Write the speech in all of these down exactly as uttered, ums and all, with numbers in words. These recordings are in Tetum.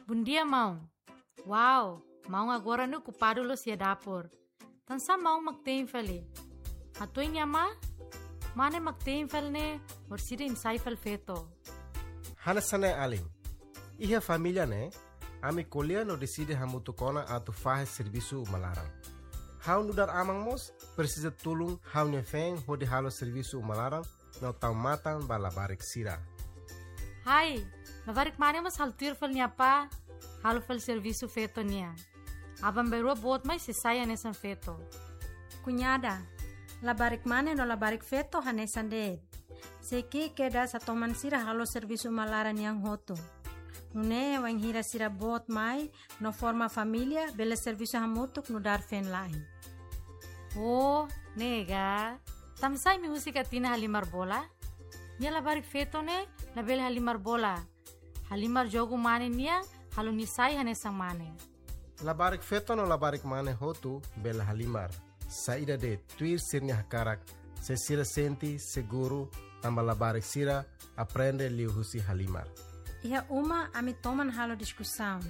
Bondia, maun. Wow, maun agora ne'e okupadu loos iha dapur. Tansá maun mak tein fali? Hatuan nia amá? Mane mak tein fali ne'e, orsida nia sai fali feto. Hanesan ne'e alin. Iha família ne'e, ami ko'alia no deside hamutuk ona atu fahe servisu uma laran. Ha'u nu'udar aman mós presiza tulun ha'u-nia feen hodi halo servisu uma laran no tau matan ba labarik sira. Hai, labarik mane mós halo tuir fali nia apá, halo fali servisu feto nian. Aban-bainrua boot mai sei sai hanesan feto. Kuñada, labarik mane no labarik feto hanesan de'it. Sei ki'ik kedas atu toman sira halo servisu uma laran nian hotu. Nune'e wainhira sira boot mai no forma família, bele servisu hamutuk nu'udar feen-la'en. Oh, ne'e ka. Tansá imi husik Atina halimar bola? Nia labarik feto ne'e labele halimar bola. Halimar jogu mane nian, halo nia sai hanesan mane. Labarik feto no labarik mane hotu bele halimar. Saida de'it, tuir sira-nia hakarak, se sira sente seguru, tanba labarik sira aprende liuhusi halimar. Iha uma ami toman halo diskusaun.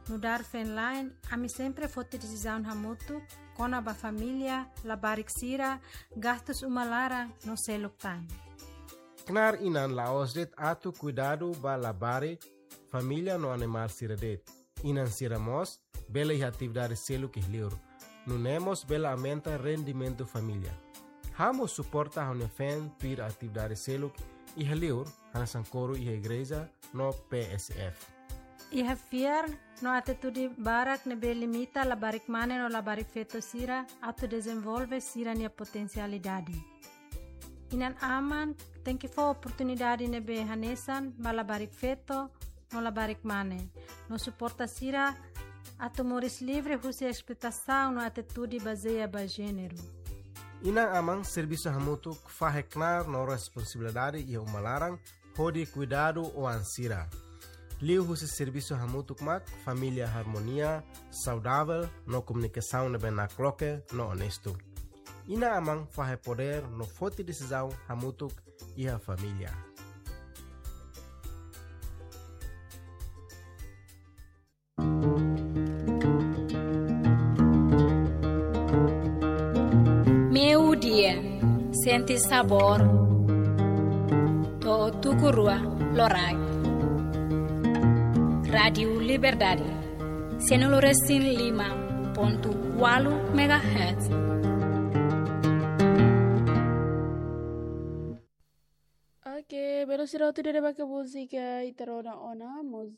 Nu'udar feen-la'en, ami sempre foti desizaun hamutuk kona-ba família, labarik sira, gastus uma laran no seluk tan. Knaar inan la'ós de'it atu kuidadu ba labarik, família no animál sira de'it. Inan sira mós bele iha atividade seluk iha li'ur. Nune'e mós bele aumenta rendimentu família. Ha'u mós suporta ha'u-nia feen tuir atividade seluk iha li'ur, hanesan koru iha igreja no P S F. Iha fiar no atitude barak ne'ebé limita labarik mane no labarik feto sira atu dezenvolve sira-nia potensialidade. Inan-aman tenke fó oportunidade ne'ebé hanesan ba labarik feto no labarik mane, no suporta sira atu moris livre husi esploitasaun no atitude bazeia ba jéneru. Inan-aman servisu hamutuk fahe knaar no responsabilidade iha uma laran hodi kuidadu oan sira. Liuhusi servisu hamutuk mak família harmonia, saudavel no komunikasaun ne'ebé nakloke no onestu. Inan-aman fahe podér no foti desizaun hamutuk iha família. Meio-dia, sente sabor, to'o tuku rua loraik. Rádiu Liberdade, sanulu resin lima pontu ualu megahertz. Oke, belun sira hotu, ida-ne'e mak múzika ita rona ona, mus-,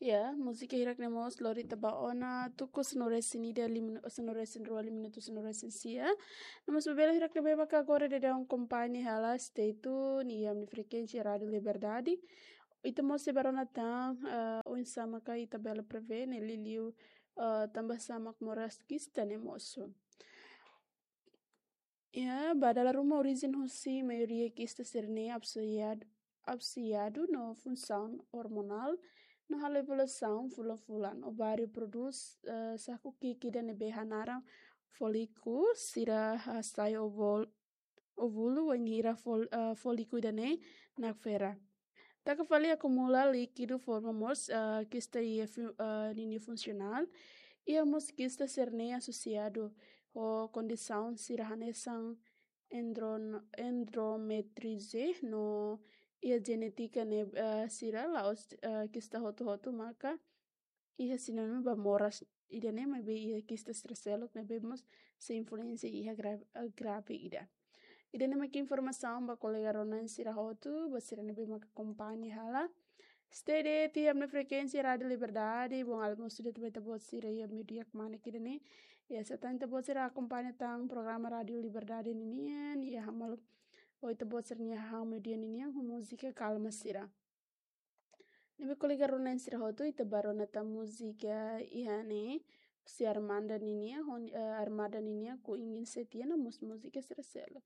ya, múzika hirak ne'e mós lori ita ba ona tuku sanulu resin ida lima, sanulu resin rua, lima minutu sanulu resin sia. No mós ba belun hirak ne'ebé maka agora daudaun akompaña hela, stay tune iha ami-nia frekuénsia Rádiu Liberdade. Ita mós sei ba rona tan, eh, oinsá maka ita bele prevene liuliu, eh, tanba sá mak moras kista ne'e mosu. Ya, ba dala ruma orijen husi maioria kista sira-ne'e asosiadu, asosiadu no funsaun ormonál, no halo evolusaun fulan-fulan. Ováriu prodús, eh, saku ki'ik ida ne'ebé hanaran fóliku, sira hasai ovul-, óvulu wainhira fól-, eh, fóliku ida-ne'e nakfera. Taka fali akumula líkidu forma mós, eh, kista iha fu-, eh, ninia funsionál. Iha mós kista sira-ne'e asosiadu ho kondisaun sira hanesan endron-, endometriose no iha jenétika ne'e, eh, sira la'ós, eh, kista hotu-hotu maka iha sinónimu ba moras ida-ne'e, maibé iha kista sira seluk ne'ebé mós sei influénsia iha gra-, eh, grave ida. Ida-ne'e mak informasaun ba kolega rona-na'in sira hotu, ba sira ne'ebé mak akompaña hela. Stay tuned iha ami-nia frekuénsia Rádiu Liberdade, bom almoço de tubaita bot sira iha meio-dia kmanek ida-ne'e. Ya, se tan ita-boot sira akompaña tan programa Rádiu Liberdade ninian, ya, hamal oito bot sira-nia hahán meio-dia ninian, ho múzika kalma sira. Ne'ebé kolega rona-na'in sira hotu, ita ba rona tan múzika iha ne'e, husi Armada ninian, hon-, eh, Armada ninian, Ku Ingin Setia no mós múzika sira seluk.